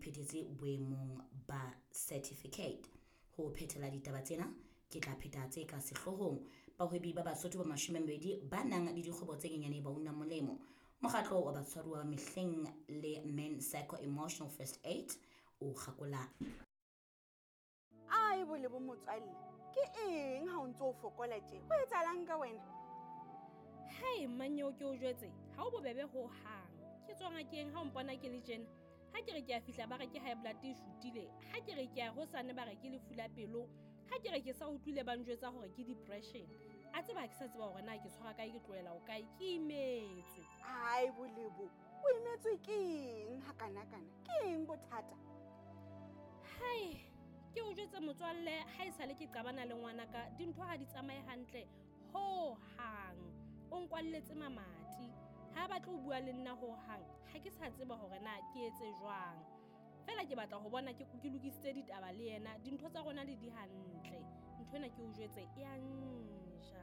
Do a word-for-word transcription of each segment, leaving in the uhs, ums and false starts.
phethetse boemong ba certificate. Ho phethela ditaba tsena, ke tla pheta tse ka sehloohong. Bahwebi ba Basotho ba mashome a mabedi ba nang le dikgwebo tse nyenyane ba una molemo. Mokgatlo wa batshwaruwa ba mehleng le Men Psycho Emotional First Aid o kgakola. Ai, Bolebo motswalle, ke eng ha o ntso o fokola tje? Ho etsahalang ka wena? Hai, mmanyeo, ke o jwetse, ha o bobebe hohang. Ke tswa ngakeng ha o mpona ke le tjena. Ha ke re ke a fihla, ba re ke high blood e shutile. Ha ke re ke a hosane, ba re ke lefu la pelo. Ha ke re ke sa utlwile, ba njwetsa hore ke depression. A tseba ha ke sa tseba hore na ke tshwara kae, ke tlohela ho kae. Ke imetswe. Ai, Bolebo, o imetswe ke eng hakanakana? Ke eng bothata? Hai, ke o jwetse motswalle, ha e sale ke qabana le ngwanaka, dintho ha di tsamaye hantle hohang. O nkwalletse mamati, ha batle ho bua le nna hohang. Ha ke sa tseba hore na ke etse jwang. Feela ke batla ho bona ke ke lokisitse ditaba le yena, dintho tsa rona le di hantle. Ntho ena, ke o jwetse, e a nja.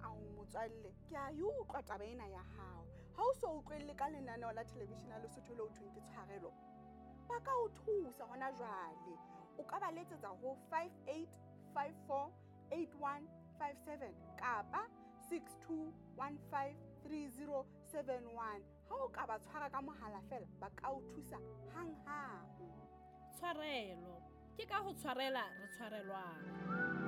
Ao motswalle, ke a e utlwa taba ena ya hao. Ha o so utlwelle ka lenaneo la television ya Lesotho le ho thweng ke Tshwarelo, ba ka o thusa hona jwale. O ka ba letsetsa ho five eight five four eight one five seven kapa six two one five three zero seven one. Ha o ka ba tshwara ka mohala feela, ba ka o thusa hanghang. Tshwarelo ke ka ho tshwarela re tshwarelwang.